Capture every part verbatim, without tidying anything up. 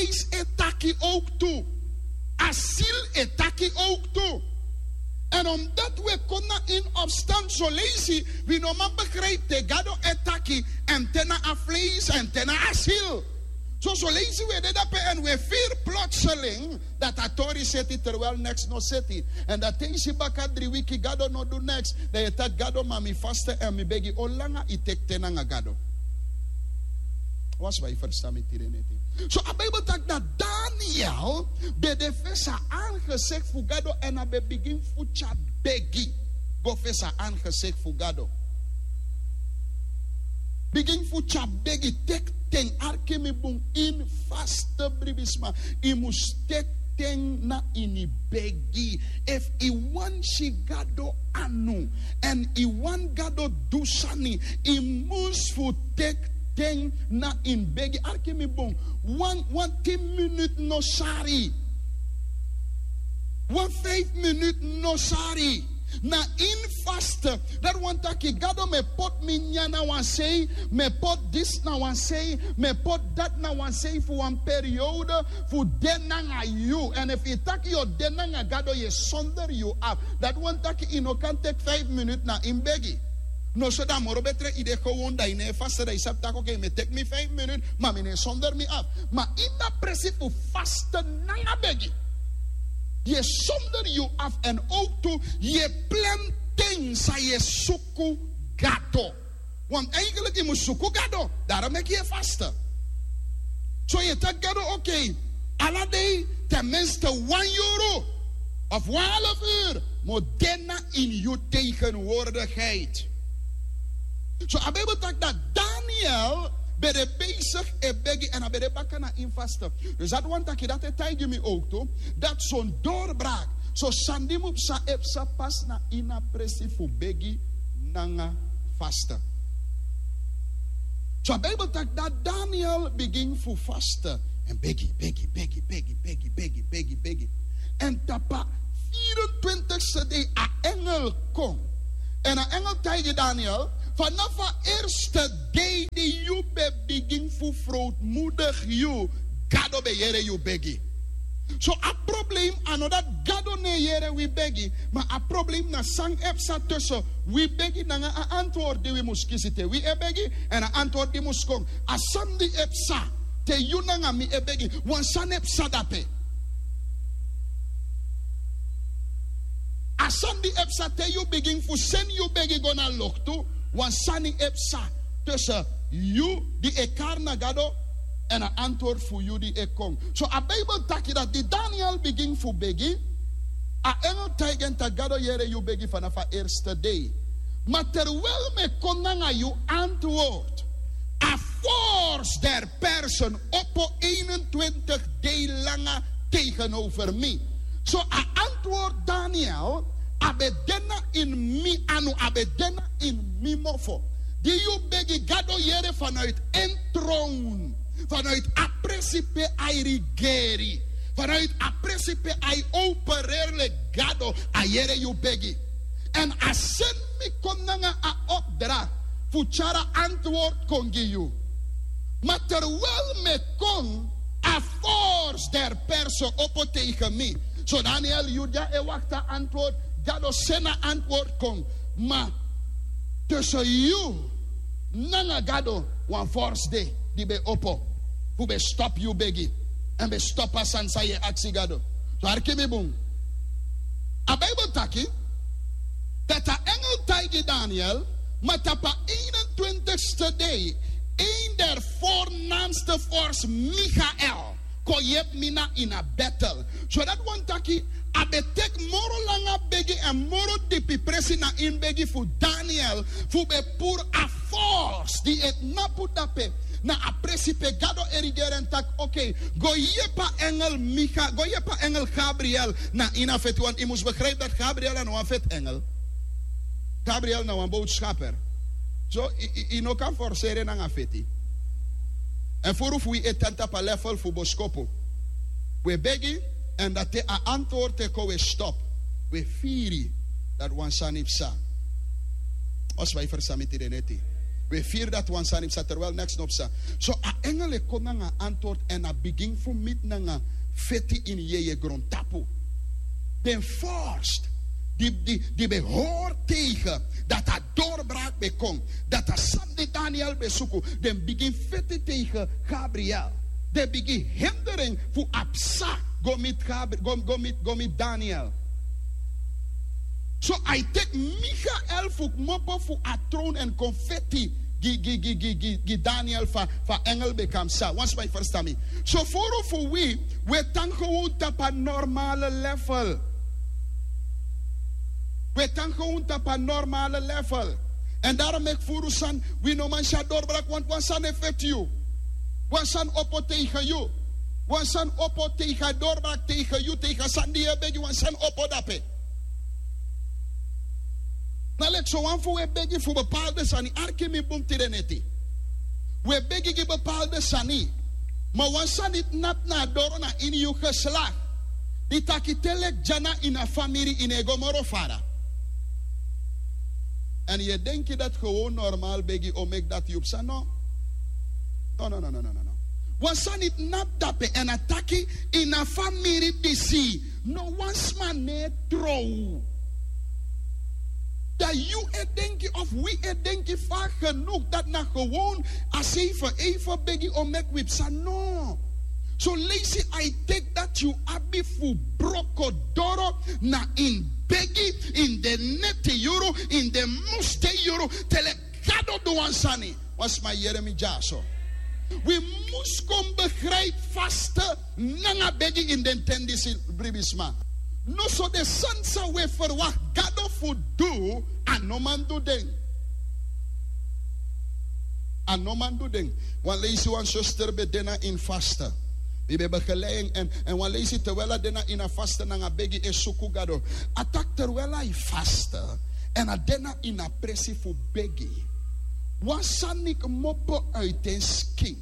Vlees e taki ook tu. A ziel e taki ook tu. En omdat we kon na in opstand zo leisi, wi no man begrijp te gado e taki, en te na a vlees en te na a ziel. So zo leisi we de dape en we firi plotseling dat a tori seti terwijl niks no seti. En dat te isi baka dri wiki gado no du niks, dan ye taki gado ma mi faste en mi begi. Olanga i teki te nanga gado. Wan sma e ferstan mi tide neti. So a Bijbel taki dat Daniel ben de fesi a aangezegti fu Gado en a ben bigin fu tyari begi go fesi a aangezegti fu Gado. Bigin fu tyari begi, teki ten, arki mi bun, ini faste bribisma. I mus teki ten na ini begi. Efu i wani si Gado anu, en i wani Gado du sani, i mus fu teki ten na ini begi. Arki mi bun, wan, wan tin minut no sari. Wan vijf minut no sari. Na ini faste. Dati wani taki Gado mi e poti mi nyan na wan sei, mi e poti disi na wan sei, mi e poti dati na wan sei fu wan periode fu de nanga yu. En efu i taki yu o de nanga Gado, yu e sonder yu afu. Dati wani taki i no kan teki vijf minut na ini begi. No, so dan a moro betre i de gewoon, dan i no e faste, dan i sabi taki oké, mi e teki mi vijf minut, ma mi no e sonder mi afu. Ma ini a presi fu faste nanga begi, yu e sonder yu afu, en ook tu yu e plan ten san yu e suku Gado. Want eigenlijk i mus suku Gado, daarom meki yu e faste. So yu e taki Gado, oké, ala dei ten minste wan yuru of wan half uur mi o de na ini yu tegenwoordigheid. So a Bijbel taki dat Daniel ben de bezig e begi en a ben de baka na ini faste. Dus dati wani taki dati e taigi mi ook tu dat son doorbraak, son sani di mus psa, e psa pas na ini a presi fu begi nanga faste. So a Bijbel taki dat Daniel bigin fu faste en begi, begi, begi, begi, begi, begi, begi, begi. En tapu a vierentwintigste dei a engel kon. En a engel taigi Daniel, vanaf a eerste dei di yu ben bigin fu verootmoedig yu, Gado ben yere yu begi. So a probleem a no dati Gado no e yere wi begi, ma a probleem na san e psa tussen wi begi nanga a antwoord di wi mus kisi te wi e begi, en a antwoord di mus kon. A sani di e psa te yu nanga mi e begi, wan sani e psa dape. A sani di e psa te yu bigin fu seni yu begi go na loktu, wan sani e psa tussen yu di e kari na Gado en a antwoord fu yu di e kon. So a Bijbel taki dat di Daniel bigin fu begi, a engel taigi en taki Gado yere yu begi vanaf a eerste dei. Ma terwijl mi e kon nanga yu antwoord, a vorst der Persen opo eenentwintig dei langa tegenover mi. So a antwoord Daniel, a ben de na ini mi anu, a ben de na ini mi mofo. Di yu begi, Gado yere vanuit en troon, vanuit a presi pe a e rigeri, vanuit a presi pe a e opereri leki Gado, a yere yu begi. En a seni mi kon nanga a opdracht fu tyari a antwoord kon gi yu. Ma terwijl mi e kon, a vorst der Persen opo tegen mi. So Daniel, yu di e wakti a antwoord, Gado seni a antwoord kon. Ma tussen yu nanga Gado wan vorst de di ben opo fu ben stop yu begi en ben stop a sani san yu e aksi Gado. So arki mi bun. A Bijbel taki dat a engel taigi Daniel, ma tapu a eenentwintigste dei, een der voornaamste vorst Michael kon yepi mi na ini a battle. So dati wani taki a ben teki moro langa begi en moro dipi presi na ini begi fu Daniel fu ben puru a vorst di e tnapu dape na a presi pe Gado e rigeri en taki oké, go yepi a engel Micha, go yepi a engel Gabriel na ini a feti. Want i mus begrijp dat Gabriel a no wan feti engel. Gabriel na wan boodschapper. So i, i, i no kan forseri en nanga feti. En furu fu wi e tan tapu a level fu boskopu. Wi e begi, en dati a antwoord e kon, wi e stop. Wi e firi dat wan sani psa. Wan sma e ferstan mi tide neti. We firi dati wan sani psa terwijl neks no psa. So a engel e kon nanga antwoord èn a bigin fu miti nanga feti ini yeye grontapu. Den vorst di di di ben hori tegen dati a doorbraak ben kon, dati a sani di daniel ben suku, den bigin feti tegen gabriel. Den bigin hindering fu a psa go miti gabri go go miti go miti daniel. So a e teki michael fu kmopo fu a trown èn kon feti gi gi gi gi gi daniel fu a engel ben kan psa wan sma e ferstan mi. So furu fu wi, wi e tan gewon tapu a normale level. Wi e tan gewon tapu a normale level. Èn daro meki furu sani wi no man si a dorbraki wantu wan sani e feti yu. Wan sani opo tegen yu. Wan sani opo tegen a dorbraki tegen yu tegen a sani di yu e begi wan sani opo dape. Na leki sowan fu wi e begi fu bepalde sani arki mi bun tide neti. Wi e begi gi bepalde sani. Ma wan sani tnapu na a doro na ini yu geslak di taki te leki dya na ini a famiri yu no e go moro fara. Èn yu e denki dati gewon normal begi o meki dati yu psa no. No no no no no no no. Wan sani tnapu dape èn a taki ini a famiri disi no wan sma no e trow. Dan yu e denki of wi e denki fa genuk dati na gewon a seife eife begi o meki wi psa no. Son leisi a e teki dati yu abi fu broko doro na ini begi ini den neti yuru ini den musten yuru te leki gado du wan sani. Wan sma yere mi dyaso. Wi mus kon begrijpi faste nanga begi ini den ten disi. Bribisma. Noso den sani san wi e ferwakti gado fu du a no man du den. A no man du den. Wan leisi wan suster ben de na ini faste. Mi ben begelei en èn wan leisi terwijl a de na ini a faste nanga begi e suku gado. A taki terwijl a e faste èn a de na ini a presi fu begi, wan sani kmopo uiti en skin.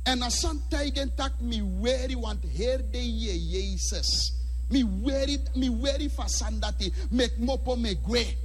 Èn a sani taigi en tak' mi weri wantu heri dei yu e yesus. Mi weri fu a sani dati. Mi e kmopo mi e gwe.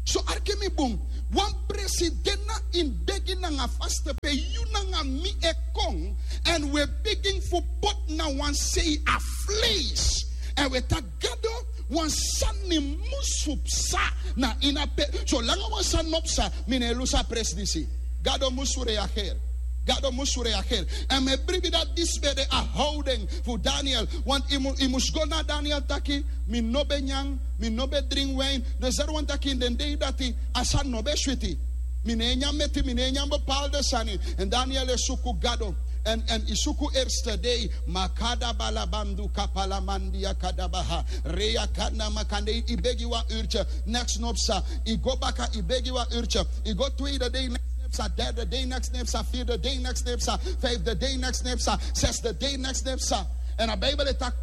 So arki mi bun. Wan presi de na ini begi nanga faste pe yu nanga mi e kon èn wi e bigin fu poti na wan sei a fleisi. Èn wi e taki gado wan sani mus fu psa. Na ini a pe solanga wan sani no psa mi no e lusu a presi disi. Gado mus fu reageri. Gado mus fu reageri. Èn mi e bribi dati disi ben de a howden fu daniel. Want yu mus go na daniel taki mi no ben nyan, mi no ben dringi win. Den seri wan taki ini den dei dati a sani no ben switi. Mi no e nyan meti mi no e nyan bepalde sani. Èn daniel e suku gado. Èn yu suku erste dei makada balabandu kapalamandia kadabaha. Reya kana makandei yu begi wan urtye. Neks no psa. Yu go baka yu begi wan urtye. Yu go tweede dei neks no psa derde dei neks no psa vierde dei neks no psa vijfde dei neks no psa zesde dei neks no psa. Èn a bibel e taki